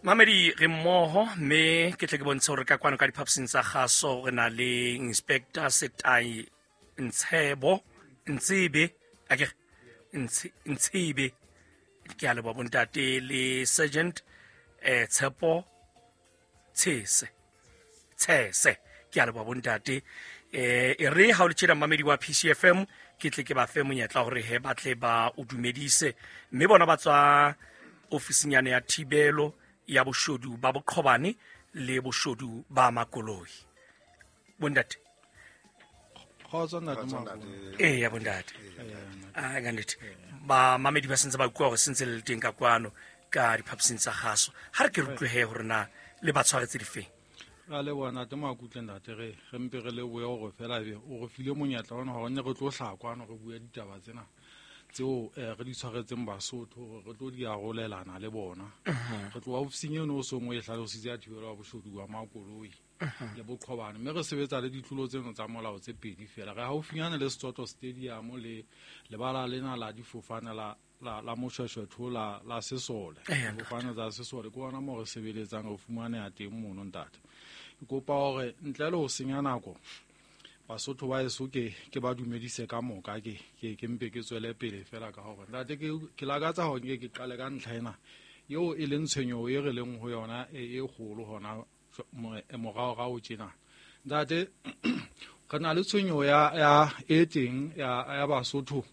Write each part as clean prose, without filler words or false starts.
Mamedi re mmoho, mme ke tle ke bontshe hore ka kwano ka diphaposing tsa kgaso re na le Inspector Setai Ntshebo Ntsebe, akere Ntshebe, ke a leboha bontate, le Sergeant Tshepo Tshese Tshese, ke a leboha bontate. E re ha o le tjena mmamedi wa PCFM, ke tle ke ba fe monyetla hore he ba tle ba o dumedise, mme bona ba tswa ofisinyane ya thibelo ya boshodu ba boqhobane le boshodu ba makoloi. Bontate. Kgotso ntate Makgolo. Ee ya bontate. A ka nnete ba mamedi ba sentse ba kua gore sentse le le teng ka kwano ka diphaposing tsa gaso. Ha re ke re utlwe he gore na le ba tshwaretse difeng. Ra leboha ntate Makutle, ntate re mpe re lebohe gore fela ebe o re file monyetla ona gore ne re tlo hlaha kwano re bue ditaba tsena tseo re di tshwaretseng Basotho gore re tlo di arolelana le bona. Re tloha ofising eno o seng o e hlalositse ya thibelo ya boshodu ba makoloi le boqhobane, mme re sebetsa le ditlolo tseno tsa molao tse pedi fela. Re haufinyane le Setsotlo Stadium le lebala lena la difofane la Moshweshwetho la sesole. Difofane tsa sesole ke ona moo re sebeletsang, re fumaneha teng mono ntate. Ke kopa hore ntle le ho senya nako Basotho ba heso ke ba dumedise ka moka, ke mpe ke tswele pele fela ka hore ntate ke lakatsa hore nke ke qale ka ntlha ena eo e leng tshwenyeho e re leng ho yona e kgolo hona moraorao tjena. Ntate, re na le tshwenyeho ya e teng ya Basotho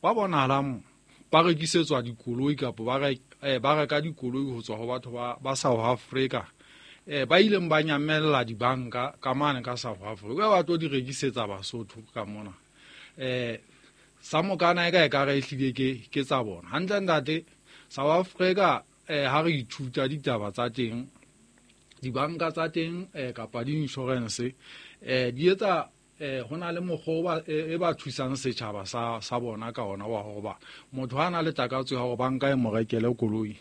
ba bonahalang ba rekisetswa dikoloi kapa ba reka dikoloi ho tswa ho batho ba South Africa. Ba ileng ba nyamella dibanka ka mane ka South Africa, ba tlo di rekisetsa Basotho ka mona. Sa mokana e ka e ka re ehlile ke tsa bona. Hantle ntate, South Africa ha re ithuta ditaba tsa teng, dibanka tsa teng kapa di-insurance di etsa ho na le mokgwa e ba thusang setjhaba sa bona ka ona wa hore ba motho ha na le takatso ya hore banka e mo rekele koloi,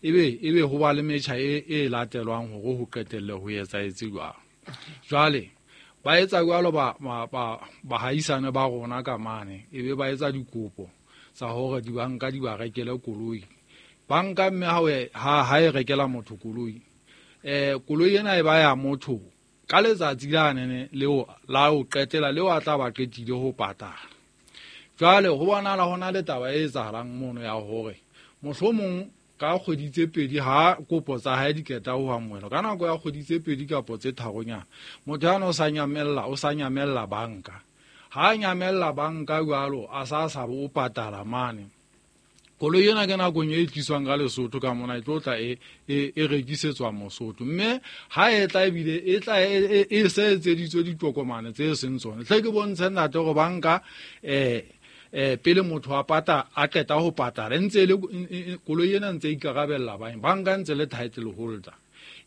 ebe ho ba le metjha e latelwang hore ho qetelle ho etsahetse jwang. Jwale ba etsa jwalo bahaisane ba rona ka mane, ebe ba etsa dikopo tsa hore dibanka di ba rekele koloi. Banka mme ha e rekela motho koloi, koloi ena e ba ya motho ka letsatsi la nene leo la ho qetela leo a tla ba qetile ho patala. Jwale ho bonahala ho na le taba e etsahalang mono ya hore mohlomong ka kgwedi tse pedi ha kopo tsa hae di qeta ho amohelwa, ka nako ya kgwedi tse pedi kapo tse tharonyana, motho yana o sa nyamella banka. Ha a nyamella banka jwalo, a sa sa bo o patala mane. Koloi ena ke nakong e tliswang ka Lesotho ka mona, e tlo tla e rekisetswa Mosotho. Mme ha e tla ebile e tla e se etseditswe ditokomane tse seng tsona. Hle ke bontshe ntate hore banka, pele motho a pata, a qeta ho patala, ntse e le, koloi ena ntse e ikarabella bang, banka ntse le title holder.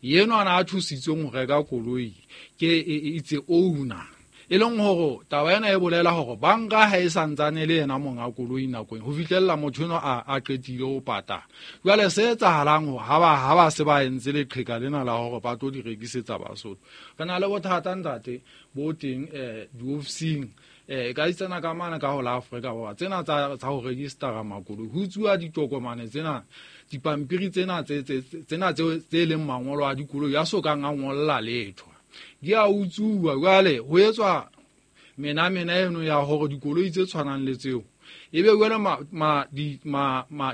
Yenwa a thusitsweng ho reka koloi ke it's a owner. E leng hore taba ena e bolela hore banka ha e santsane le yena monga koloi nakong ho fihlella motho enwa a qetile ho patala. Jwale se etsahalang hore ha ba se ba entse leqheka lena la hore ba tlo di rekisetsa Basotho. Re na le bothata ntate bo teng diofising, ka itsena ka mane ka ho la Afrika Borwa tsena tsa ho registera makoloi, ho utsuwa ditokomane tsena, dipampiri tsena tsena tse leng mangolo a dikoloi a sokang a ngolla letho. Di a utsuwa. Jwale ho etswa menamena eno ya hore dikoloi tse tshwanang le tseo ebe jwale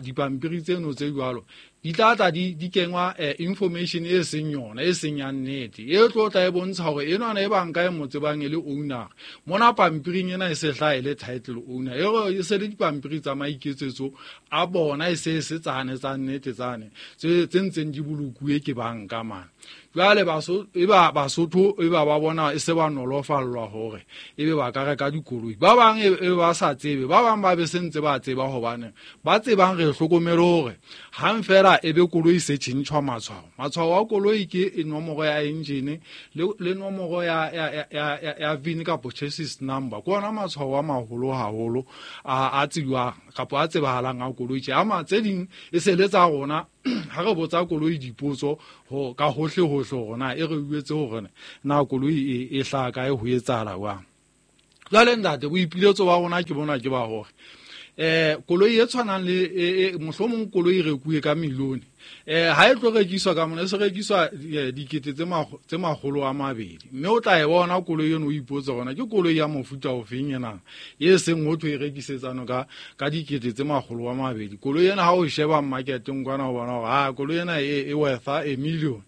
dipampiri tseno tse jwalo di tla tla di kengwa information e seng yona, e seng ya nnete, e tlo tla e bontsha hore enwana e banka e mo tsebang e le owner, mona pampiring ena e se hlaha e le title owner, e re e se le dipampiri tsa maiketsetso a bona, e se e se tsane tsa nnete tsane tse ntseng di bolokuwe ke banka mane. Jwale e ba Basotho e ba ba bona e se ba nolofallwa hore ebe ba ka reka dikoloi. Ba bang e ba sa tsebe, ba bang ba be se ntse ba tseba, hobane ba tsebang re hlokomele hore hang fela ebe koloi se tjhentjhwa matshwao. Matshwao a koloi ke nomoro ya engine le nomoro ya VIN kapo chassis number. Ke ona matshwao a maholo haholo a tsejwang kapo a tsebahalang a koloi. Tje, ama tse ding e se le tsa rona, ha re botsa koloi dipotso ho ka hohle hohle hore na e re uetse hore na koloi e hlaha kae, ho etsahala jwang. Jwale ntate, boipiletso ba rona ke bona ke ba hore Koloi e tshwanang le mohlomong koloi e rekuwe ka milione, ha e tlo rekiswa ka mona, e se rekiswa dikete tse 200, mme o tla e bona koloi eno o ipotsa gona ke koloi ya mofuta ofeng ena e seng ho thwe e rekisetsano ka dikete tse 200. Koloi ena ha o sheba marketeng kwana o bona hore ha koloi ena e worth a million.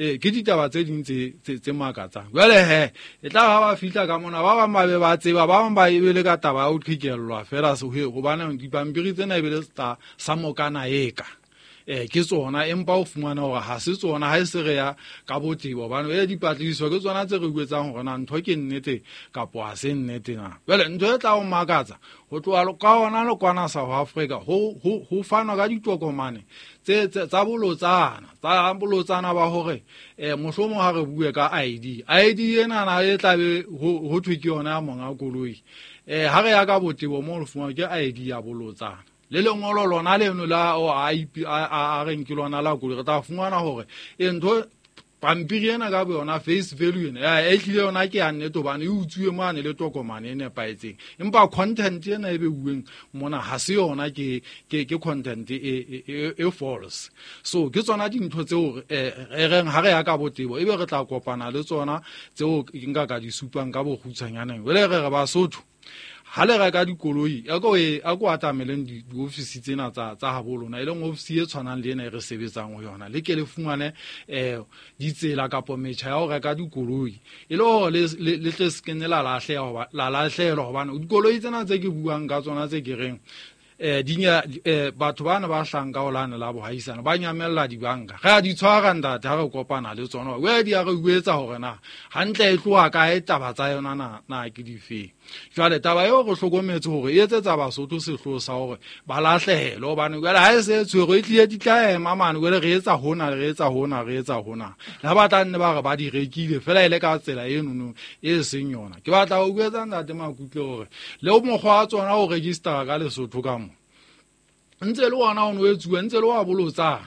Ke ditaba tse ding tse makatsang. Jwale he e tla ha ba fihla ka mona, ba bang ba be ba tseba, ba bang ba e be le ka taba ya ho qhekellwa fela hobane dipampiri tsena e be le sa mokana eka. Ke tsona, empa o fumana hore ha se tsona, ha e se re ya ka botebo, hobane dipatlisiso ke tsona tse re buetsang hore na ntho ke nnete kapo ha se nnete na. Jwale ntho e tla o makatsa ho tloha ka hona le kwana South Africa ho fanwa ka ditokomane tsa bolotsana, ba hore mohlomong ha re bue ka ID, ID ena na e tla be ho thwe ke yona ya monga koloi. Ha re ya ka botebo mo re fumana ke ID ya bolotsana. Le lengolo lona leno la o a reng ke lona la koloi, re tla fumana hore ntho pampiri ena ka boyona face value ena e hlile yona ke ya nnete hobane e utsuwe mane le tokomane e nepahetseng, empa content ena e beuweng mona ha se yona, ke content e false. So ke tsona dintho tseo re reng ha re ya ka botebo ebe re tla kopana le tsona tseo nka ka di supang ka bokgutshwanyaneng. Jwale re re Basotho ha le reka dikoloi a ko atameleng diofisi tsena tsa habo lona, e leng ofisi e tshwanang le ena e re sebetsang ho yona, le ke le fumane ditsela kapo metjha ya ho reka dikoloi, e le hore le tle se kene la lahlehelwa, hobane dikoloi tsena tse ke buang ka tsona tse ke reng batho bana ba hlanka ho lane la bohaisana ba nyamella dibanka, re a di tshwara ntate ha re kopana le tsona, we di a re uetsa hore na hantle e tloha kae taba tsa yona na ke difeng. Jwale taba eo re hlokometse hore e etsetsa Basotho sehloho sa hore ba lahlehelwe, hobane jwale ha e se tshwerwe e tlile di tla ema mane, jwale re etsa hona, re etsa hona, re etsa hona, le ha ba tla nne ba re ba di rekile fela e le ka tsela enono e seng yona. Ke batla ho uetsa ntate Makutle hore le mokgwa wa tsona o registera ka Lesotho ka mo ntse le ona o no etsuwa, ntse le wa bolotsana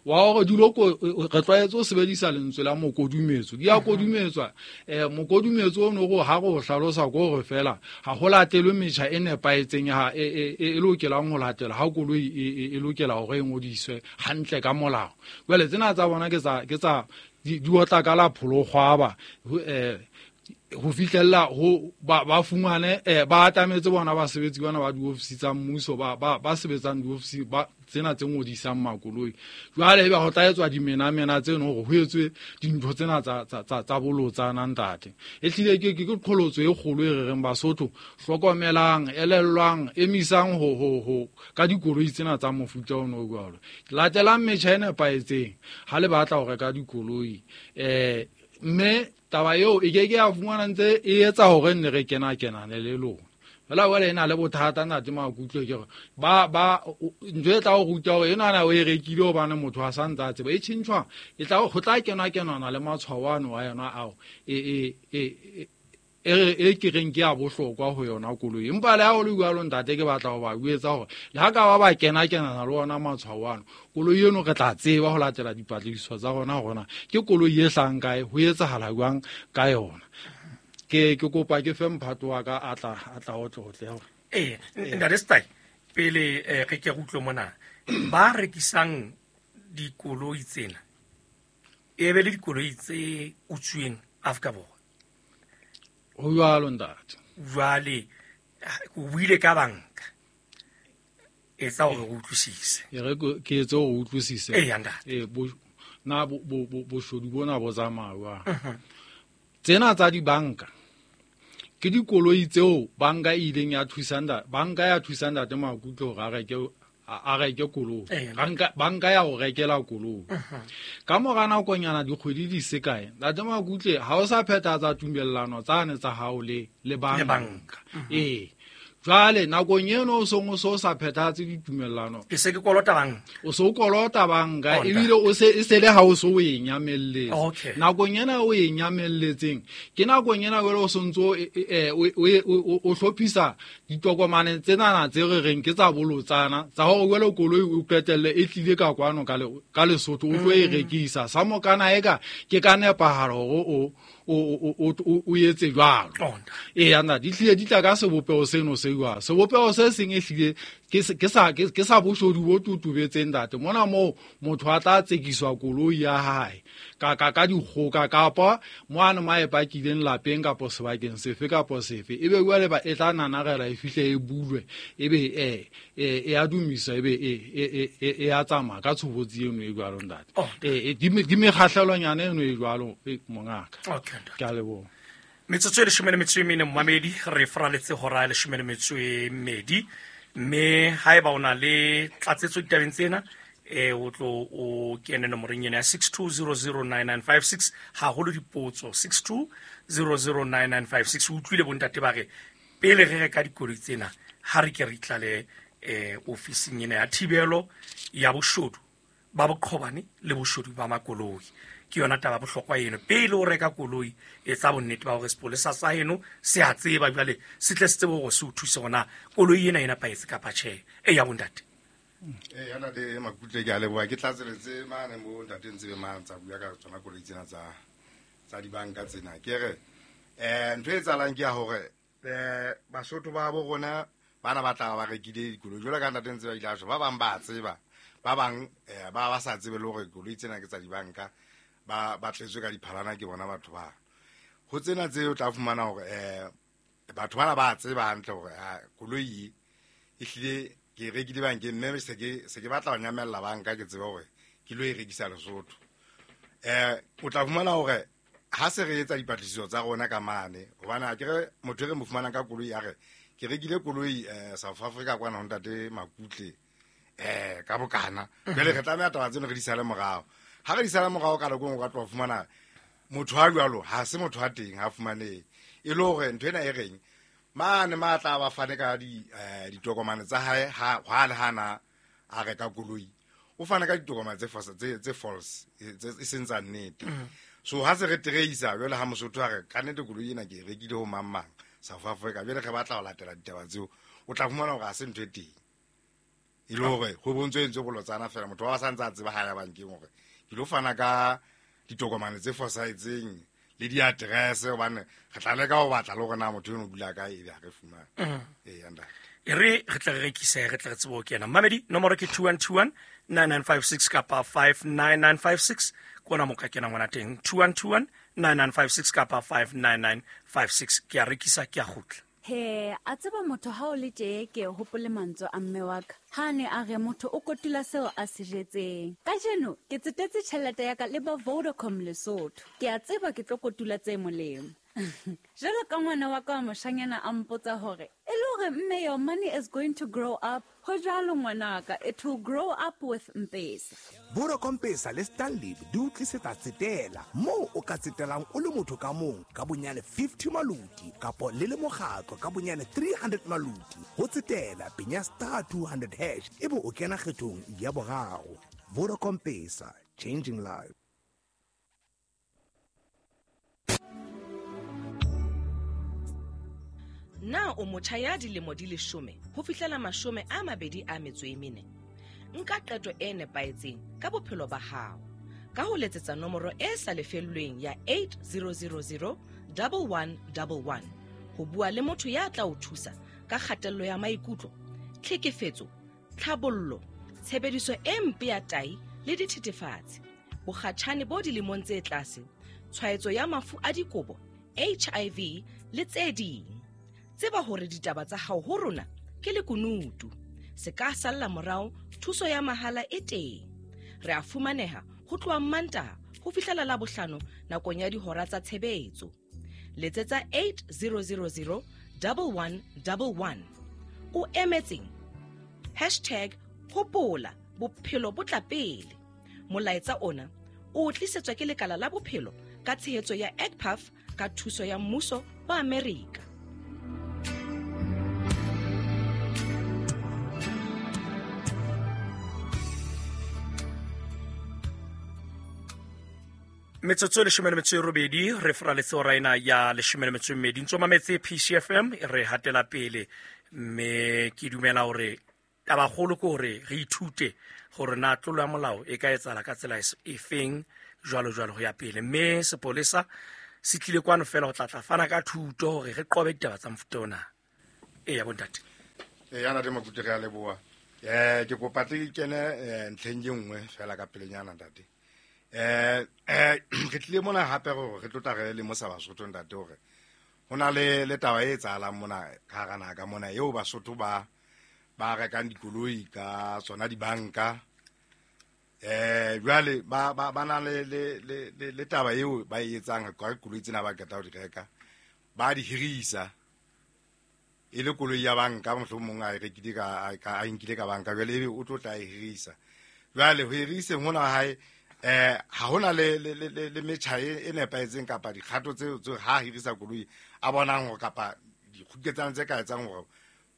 wa hore dilo re tlwaetse ho sebedisa lentswe la mokodumetso, di a kodumetswa. Mokodumetso o no go ha go hlalosa ko hore fela ha ho latelwe metjha e nepahetseng ya e lokelang ho latela ha koloi e lokela hore e ngodiswe hantle ka molao. Jwale tsena tsa bona ke tsa di otla ka la pholokgwaba ho fihlella ho ba fumane ba atametse bona basebetsi bana ba diofisi tsa mmuso ba sebetsang diofisi ba tsena tse ngodisang makoloi. Jwale ebe ho tla etswa dimenamena tseno hore ho etswe dintho tsena tsa bolotsana ntate. E hlile ke qholotso e kgolo e re reng Basotho hlokomelang, elellwang, emisang ho ka dikoloi tsena tsa mofuta ono o jwalo. Latelang metjha e nepahetseng ha le batla ho reka dikoloi. Mme taba eo e ke ke ya fumana ntse e etsa hore nne re kena kenane le lona. Fela jwale e na le bothata ntate Makutlwe, ke hore ba ntho e tla o ruta hore ena na o e rekile hobane motho a sa ntse a tseba e tjhentjhwa, e tla ho tla kenwa kenwana le matshwao ano a yona ao e ke reng ke ya bohlokwa ho yona koloi. Empa le ha o le jwalo ntate, ke batla ho ba buetsa hore le ha ka ba kena kenana le ona matshwao ano, koloi eno re tla tseba ho latela dipatlisiso tsa rona hore na ke koloi e hlang kae, ho etsahala jwang ka yona. Ke kopa ke fe mphato wa ka a tla otlotle hore ntate Setai, pele re ke re utlwe mona ba rekisang dikoloi tsena e be le dikoloi tse utsweng Afrika Borwa. Ho jwalo ntate. Jwale o buile ka banka, etsa hore o utlwisise. E re ke etse hore o utlwisise. Eya ntate. Na boshodu bona bo tsamaya jwang? Tsena tsa dibanka ke dikoloi tseo banka e ileng ya thusa banka ya thusa ntate Makutlwe hore a reke koloi. Banka ya ho rekela koloi. Ka mora nakonyana dikgwedi di se kae, ntate Makutlwe ha o sa phethahatsa tumellano tsane tsa hao le banka. Jwale nakong eno o song o so sa phethahatse ditumellano, ke se ke kolota banka, o so kolota banka ebile o se e se le ha o so o e nyamelletse. Nakong ena o e nyamelletseng ke nakong ena jwale o sontso o hlophisa ditokomane tsenana tse re reng ke tsa bolotsana tsa hore jwale koloi o qetelle e tlile ka kwano ka Lesotho o tlo e rekisa sa mokana eka ke ka nepahalo hore o etse jwalo. Eya ntate, di hlile di tla ka sebopeho seno se jwalo. Sebopeho se seng e hlile ke sa boshodu bo totobetseng ntate. Mona moo motho a tla tsekiswa koloi ya hae ka dikgoka kapa moane ma e pakileng lapeng kapa sebakeng sefe kapa sefe, ebe jwale ba e tla nanarela e fihle e bulwe, ebe e a dumisa, ebe e a tsamaya ka tshobotsi eno e jwalo ntate. Di mekgahlelonyana eno e jwalo mongaka. Ke a leboha. Metsotso e 14 mmamedi, re fraletse hora e 12, mme haeba o na le tlatsetso ditabeng tsena, o tlo o kene nomoreng ena ya 62009956, haholo dipotso 62009956. O utlwile bontate ba re pele re reka dikoloi tsena, ha re ke re itlale ofising ena ya thibelo ya boshodu ba boqhobane le boshodu ba makoloi. Ke yona taba bohlokwa eno. Pele o reka koloi, etsa bonnete ba hore sepolesa sa heno se a tseba, jwale se tle se tsebe hore se o thuse hore na koloi ena e nepahetse kapa tjhe. Eya bontate. Eya ntate Makutle, ke a leboha. Ke tlatseletse mane mo ntate Ntsebe mane tsa bua ka tsona koloi tsena tsa dibanka tsena. Ke re ntho e etsahalang ke ya hore Basotho ba bo rona bana ba tla ba rekile dikoloi jwalo ka ntate Ntsebe a ile a tjho, ba bang ba tseba, ba bang ba sa tsebe le hore koloi tsena ke tsa dibanka, ba tletswe ka diphalana ke bona batho ba. Ho tsena tse o tla fumana hore batho bana ba tseba hantle hore koloi e hlile ke e rekile bankeng, mme se ke batla ho nyamella banka, ke tsebe hore ke lo e rekisa Lesotho. O tla fumana hore ha se re etsa dipatlisiso tsa rona ka mane, hobane ha ke re motho e re mo fumanang ka koloi a re ke rekile koloi South Africa kwana ho ntate Makutle ka bokana, jwale re tlameha taba tseno re di sale morao. Ha re di sale morao ka nako e nngwe o ka tloha fumana motho a jwalo ha se motho a teng, ha fumanehe. E le hore ntho ena e reng mane ma tla ba fane ka ditokomane tsa hae, ha le hana a reka koloi, o fana ka ditokomane tse false, tse e seng tsa nnete. So ha se re tracer jwale ha Mosotho a re ka nnete koloi ena ke e rekile ho mang mang South Africa, jwale re batla ho latela ditaba tseo, o tla fumana hore ha se ntho e teng. E le hore ho bontswe entswe bolotsana fela, motho wa sa ntse a tseba ha ya bankeng hore ke lo fana ka ditokomane tse fosahetseng le di-address, hobane re tla leka ho batla le hore na motho eno o dula kae, ebe ha re fumane. Eya ntate. E re re tle re rekise, re tle re tsebe ho kena. Mmamedi, nomoro ke 2121 9956 kapa 59956, ke ona mo ka kenang hona teng. 2121 9956 kapa 59956. Ke a rekisa, ke a kgutla. He, a tseba motho ha o le tje, ke hopole mantswe a mme wa ka. Ha ne a re motho o kotula seo a se jetseng. Kajeno ke tsetetse tjhelete ya ka le ba Vodacom Lesotho. Ke a tseba ke tlo kotula tse molemo. Jwalo ka ngwana wa ka wa moshanyana a mpotsa hore, e le hore mme, your money is going to grow up. Ho jwalo ngwanaka, it will grow up with Mpesa. Vodacom Pesa le Stanlib di o tlisetsa tsetela moo o ka tsetelang o le motho ka mong ka bonyane 50 maluti kapo le le mokgatlo ka bonyane 300 maluti. Ho tsetela penya star 200 hash ebe o kena kgethong ya boraro. Vodacom Pesa, changing lives. Na o motjha ya dilemo di 10 ho fihlela 24? Nka qeto e nepahetseng ka bophelo ba hao ka ho letsetsa nomoro e sa lefellweng ya 8000 1111 ho bua le motho ya tla o thusa ka kgatello ya maikutlo, tlhekefetso, tlhabollo, tshebediso e mpe ya tai le dithethefatsi, bokgatjhane bo dilemong tse tlase, tshwaetso ya mafu a dikobo, HIV le tse ding. Tseba hore ditaba tsa hao ho rona ke lekunutu, se ka salla morao, thuso ya mahala e teng. Re a fumaneha ho tloha Mantaha ho fihlela Labohlano nakong ya dihora tsa tshebetso. Letsetsa 8000 1111. O emetseng? Hashtag hopola bophelo bo tla pele. Molaetsa ona o tlisetswa ke lekala la bophelo ka tshehetso ya EGPAF ka thuso ya mmuso wa Amerika. Metsotso e 18 re fraletse hora ena ya 12. Ntso mametse PCFM e re hatela pele, mme ke dumela hore tabakgolo ke hore re ithute hore na tlolo ya molao e ka etsahala ka tsela e feng, jwalo jwalo ho ya pele. Mme sepolesa Se tlile kwano fela ho tla tla fana ka thuto hore re qobe ditaba tsa mofuta ona. Eya bontate. Eya ntate Makutle, re a leboha. Ke kopa tle ke kene ntlheng e nngwe fela ka pelenyana ntate. Re tlile mona hape hore re tlo tla re lemosa Basotho ntate hore ho na le taba e etsahalang mona ka hara naha ka mona eo Basotho ba rekang dikoloi ka tsona dibanka. Jwale ba na le taba eo ba e etsang ka dikoloi tsena ba qeta ho di reka, ba di hirisa e le koloi ya banka, mohlomong a e rekile ka a nkile ka banka, jwale ebe o tlo tla e hirisa. Jwale ho hiriseng hona hae ha hona le metjha e nepahetseng kapa dikgato tseo ha hirisa koloi a bonang hore kapa dikgoketsano tse ka etsang hore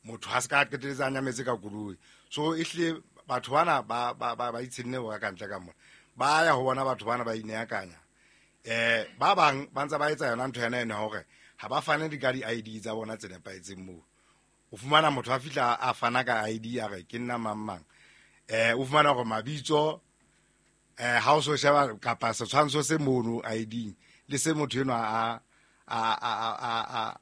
motho ha se ka qeteletse a nyametse ka koloi. So ehlile batho bana ba itshenne ho ka ntle ka mona, ba ya ho bona batho bana ba ineakanya. Ba bang ba ntse ba etsa yona ntho ena ena hore ha ba fane di ka di-ID tsa bona tse nepahetseng moo. O fumana motho a fihla a fana ka ID a re ke nna mang mang. O fumana hore mabitso ha o so sheba kapa setshwantsho se mono ID le se motho enwa a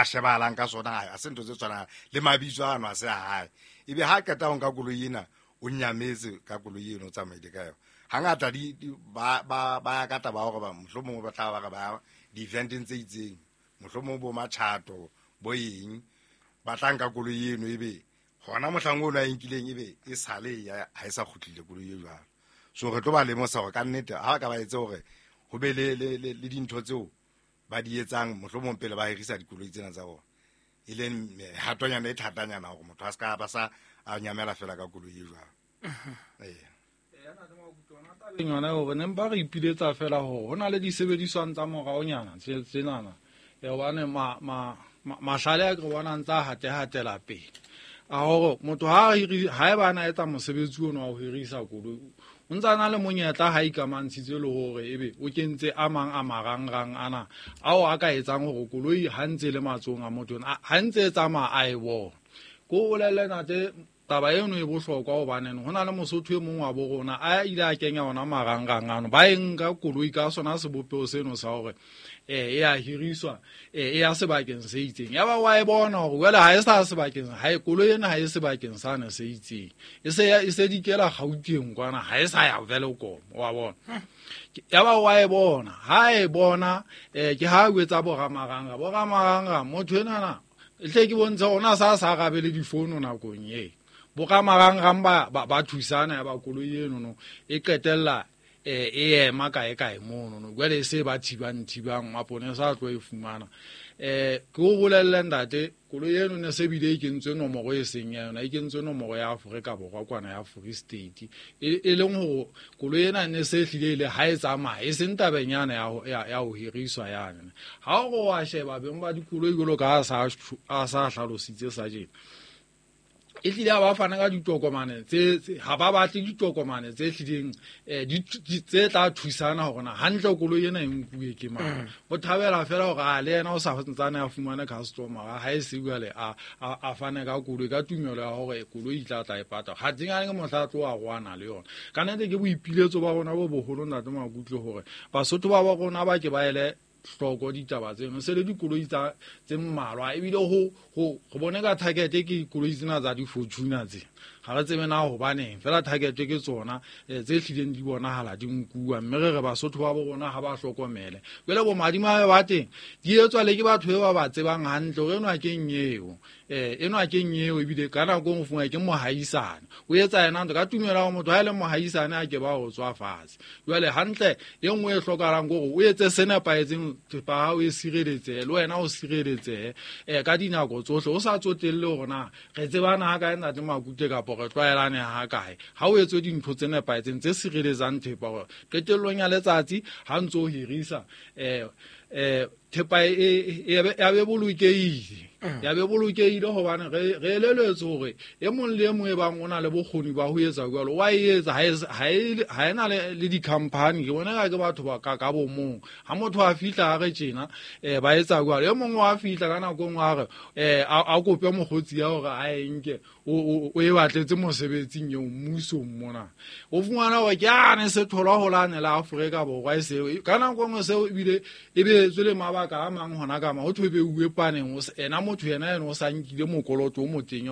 shebahalang ka sona ha se ntho tse tshwanang le mabitso ano a se a hae. Ebe ha qeta ho nka koloi ena o nyametse ka koloi eno o tsamaile ka yona. Hangata ba ya ka taba hore ba mohlomong ba tla ba re ba di-eventeng tse itseng, mohlomong bo matjhato bo eng, ba tla nka koloi eno ebe hona mohlang ono a e nkileng ebe e sale ha e sa kgutlile koloi e jwalo. So re tlo ba lemosa hore ka nnete ha ba ka ba etse hore ho be le dintho tseo ba di etsang mohlomong pele ba hirisa dikoloi tsena tsa bona, e leng hatonyana e thatanyana hore motho a se ka ba sa a nyamela fela ka koloi e jwalo. Yona hore ne mpa re ipiletsa fela hore ho na le disebediswang tsa moraonyana tsenana hobane mahlale a ke re bonang tsa hatehatela pele a hore motho ha eba a etsa mosebetsi ono wa ho hirisa koloi o ntse a na le monyetla ha ikamantshitse le hore ebe o kentse a mang a marangrang ana ao a ka etsang hore koloi ha ntse le matsohong a motho ha ntse e tsamaya a e bona. Ko bolelle ntate taba eno e bohlokwa hobane ho na le Mosotho e mong wa bo rona a ile a kenya ona marangrang ano, ba e nka koloi ka sona sebopeho seno sa hore e a hiriswa e ya sebakeng se itseng. Ya ba wa e bona hore jwale ha e sa sebakeng, ha e koloi ena ha e sebakeng sane se itseng, e se dikela Gauteng kwana, ha e sa ya Welkom, wa bona. Ya ba wa e bona, ha e bona ke ha o etsa boramaranga motho enana hle ke bontshe ona sa arabele difono nakong e boramarang ba thusana ya ba koloi eno no e qetella e ema kae kae mono no jwale e se ba thibang maponesa a tlo e fumana. Ke o bolelle ntate koloi eno ne se bile e kentswe nomoro e seng ya yona, e kentswe nomoro ya Afrika Borwa kwana ya Free State, e leng hore koloi ena ne se hlile ile ha e tsamaya e seng tabeng yana ya ho hiriswa yana. Ha o wa sheba beng ba dikoloi jwalo ka a sa hlalositse sa jena, e hlile ha ba fana ka ditokomane tse ha ba batle ditokomane tse hlileng tse tla thusana hore na hantle koloi ena e nkuwe ke mang. O thabela fela hore a le yena o sa ntsane a fumane customer ha e se jwale a fane ka koloi ka tumelo ya hore koloi e tla tla e pata ha tsengane ke mohla tlo a rwana le yona. Ka nnete ke boipiletso ba rona bo boholo ntate Makutle hore Basotho ba rona ba ke ba ele hloko ditaba tseno se le dikoloi tsa tse mmalwa ebile ho bone ka target ke dikoloi tsena tsa di-Fortuner tse ga re tsebe na hobaneng fela target ke tsona tse hlileng di bonahala di nkuwa, mme re re Basotho ba bo rona ha ba hlokomele. Jwale bo madimabe ba teng di etswa le ke batho ba ba tsebang hantle hore enwa keng eo enwa keng eo, ebile ka nako e nngwe ke mohaisane o etsa yena ntho ka tumelo ya motho ha e le mohaisane a ke ba ho tswa fatshe. Jwale hantle e nngwe e hlokahalang ke hore o etse se nepahetseng, thepa hao e sireletsehe le wena o sireletsehe ka dinako tsohle, o sa tsotelle hore na re tsebana ha kae ntate Makute kapa re tlwaelane ha kae. Ha o etswe dintho tse nepahetseng tse sireletsang thepa hore qetellong ya letsatsi ha ntse o hirisa thepa ya be bolokehile, ya be bolokehile hobane re eleletswe hore e mong le e mong e bang o na le bokgoni ba ho etsa jwalo wa e etsa, ha e na le di-company. Ke bona ka ke batho ba ka bo mong ha motho a fihla a re tjena ba etsa jwalo, e mong wa fihla ka nako e nngwe a re a kope mokgotsi ya hore a e nke o e batletse mosebetsing eo mmusong mona, o fumana hore ke ane se tholwa holane la Afrika Borwa e seo ka nako e nngwe seo ebile e be etswe le mabaka a mang hona ka ma ho thwe beuwe paneng, ena motho yena ena o sa nkile mokoloto o motenya.